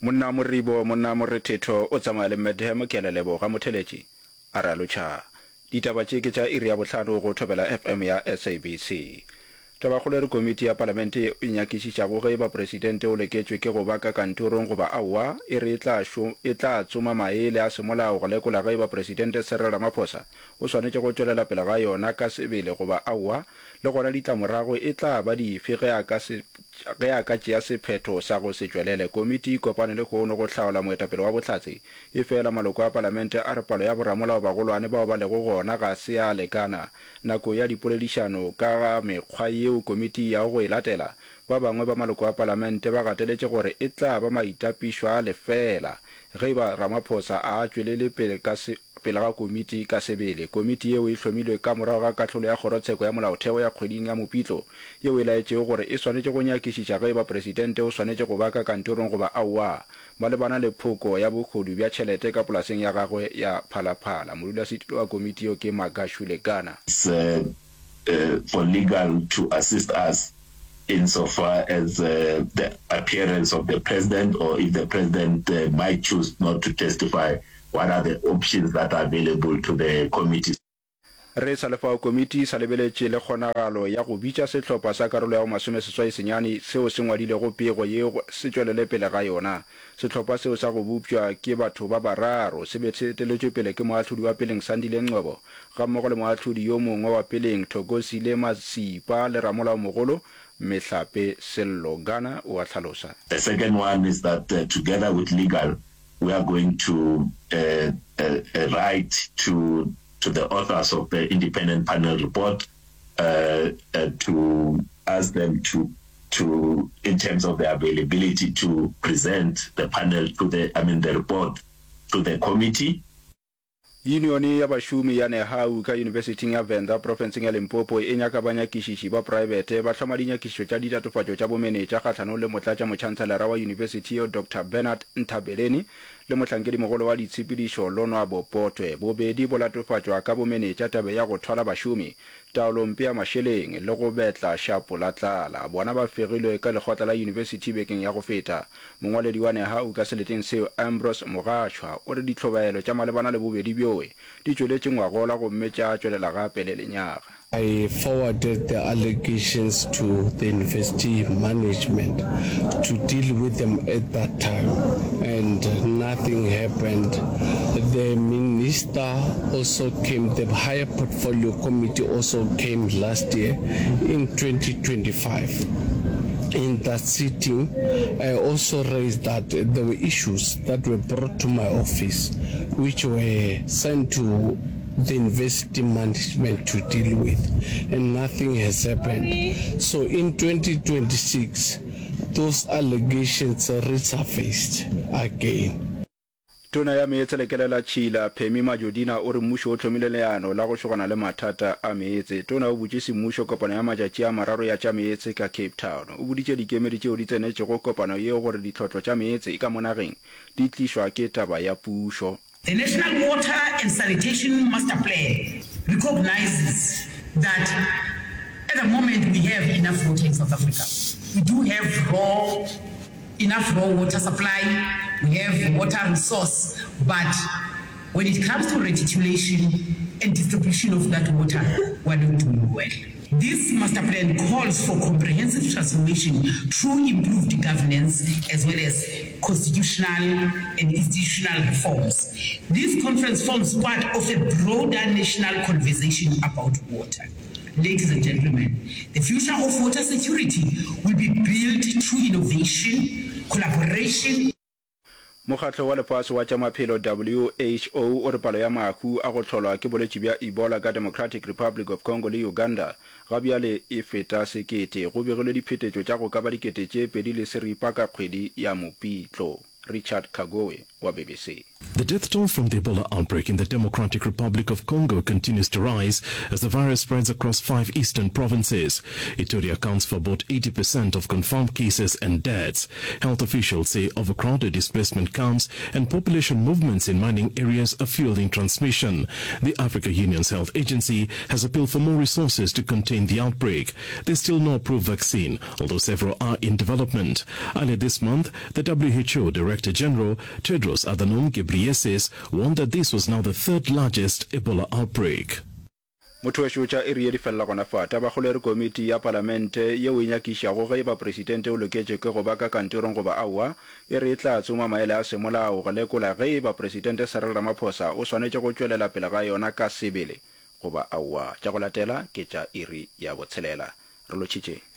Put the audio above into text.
Monna moribo, monna morethetho o tsamaya le Madam Ke a le leboga motheletši, a re a lotšha. Ditaba tše ke tša iri ya bohlano go Thobela FM ya SABC. Tabakgolo e re komiti ya palamente ye e nyakišišago ge e ba presidente o leketšwe ke go ba ka kantorong goba aowa e re e tla e tla tsoma maele a semolao go lekola ge e ba presidente Cyril Ramaphosa o swanetše go tšwelela pele ga yona ka sebele goba aowa le gona ditlamorago e tla ba dife ge a ka se ge a ka tšea sephetho sa go se tšwelele. Komiti e kopane lehono go hlaola moetapele wa bohlatse Efela maloko a palamente a re palo ya boramolao bagolwane bao ba lego gona ga se ya lekana. Nako ya dipoledišano ka ga mekgwa yeo komiti e yago go e latela, ba bangwe ba maloko a palamente ba gateletše gore e tla ba maitapišo a lefeela ge e ba Ramaphosa a tšwelele pele ka pele ga komiti ka sebele. Komiti yeo e hlomilwe ka morago ga kahlolo ya Kgorotsheko ya Molaotheo ya kgweding ya Mopitlo yeo e laetšego gore e swanetše go nyakišiša ge e ba presidente o swanetše go ba ka kantorong goba aowa. Malebana le phoko ya bohodu bja tšhelete ka polaseng ya gagwe ya Phalaphala, modulasetulo wa komiti yeo ke Magashule Gana. For legal to assist us in so far as the appearance of the president or if the president might choose not to testify, what are the options that are available to the committee. Re sa le fao, komiti e sa lebeletše le kgonagalo ya go bitša sehlopha sa karolo ya bo masomeseswai senyane seo se ngwadilego pego ye go se tšwelele pele ga yona. Sehlopha seo sa go bopša ke batho ba bararo se be se eteletšwe pele ke moahlodi wa peleng Sandile Ngcobo gammogo le moahlodi yo mongwe wa peleng Thokozile Masipa le ramolaomogolo Mehlape Sello Gana o a hlalosa. The second one is that together with legal we are going to write to to the authors of the independent panel report uh, uh, to ask them to to in terms of the availability to present the panel to the I mean the report to the committee. Yunione ya bašomi ya Nehau ka Yunibesithing ya Venda profenseng ya Limpopo e nyaka banyakišiši ba praebete ba hloma dinyakišišo tša ditatofatšo tša bomenetša kgahlanong le motlatšamotšhantselera wa yunibesithi yeo Doctor Bernard Nthabeleni le mohlankedimogolo wa ditshepedišo Lonwabo Potwe, bobedi bo latofatšwa ka bomenetša tabeng ya go thwala bašomi, taolompe ya mašeleng le go betla šapo la tlala. Bona ba fegilwe ka lekgotla la yunibesithi bekeng ya go feta. Mongwaledi wa Nehawu ka seleteng seo, Ambrose Mogatshwa, o re ditlhobaelo tša malebana le bobedi bjoe di tšweletše ngwagola gomme tša tšwelela gape le lenyaga. I forwarded the allegations to the university management to deal with them at that time and nothing happened. The minister also came, the higher portfolio committee also came last year in 2025. In that sitting, I also raised that there were issues that were brought to my office which were sent to the university management to deal with and nothing has happened. So in 2026, those allegations resurfaced again. Tona ya Meetse le Kelelatšhila, Pemmy Majodina o re mmušo o hlomile leano la go šogana le mathata a meetse. Tona o butše semmušo kopano ya matšatši a mararo ya tša meetse ka Cape Town. O boditše dikemedi tšeo di tsenetšego kopano yeo gore ditlhotlo tša meetse ka mo nageng di tlišwa ke taba ya pušo. The National Water and Sanitation Master Plan recognises that at the moment we have enough water in South Africa. We do have raw, enough raw water supply, we have water resource, but when it comes to reticulation and distribution of that water, we are not doing well. This master plan calls for comprehensive transformation through improved governance as well as constitutional and institutional reforms. This conference forms part of a broader national conversation about water. Ladies and gentlemen, the future of water security will be built through innovation, collaboration, Mokgatlo wa Lefase wa tša Maphelo, WHO, o re palo ya mahu a go hlolwa ke bolwetši bja Ebola ka Democratic Republic of Congo le Uganda ga bjale e feta sekete. Go begilwe diphetetšo tša go ka ba 2600 ka kgwedi ya Mopitlo. Richard Kagoe wa BBC. The death toll from the Ebola outbreak in the Democratic Republic of Congo continues to rise as the virus spreads across five eastern provinces. Ituri accounts for about 80% of confirmed cases and deaths. Health officials say overcrowded displacement camps and population movements in mining areas are fueling transmission. The Africa Union's health agency has appealed for more resources to contain the outbreak. There's still no approved vaccine, although several are in development. Earlier this month, the WHO Director General, Tedros Adhanom Ghebreyesus, warned that this was now the third largest Ebola outbreak. Motho wešo tša iri ye di felela gona fa. Tabakgolo e re komiti ya palamente yeo e nyakišago ge e ba presidente o loketše ke go ba ka kantorong goba aowa, e re e tla tsoma maele a semolao go lekola ge e ba presidente Cyril Ramaphosa o swanetše go tšwelela pele ga yona ka sebele goba aowa. Tša go latela ke tša iri ya botshelela. Re lotšhitše.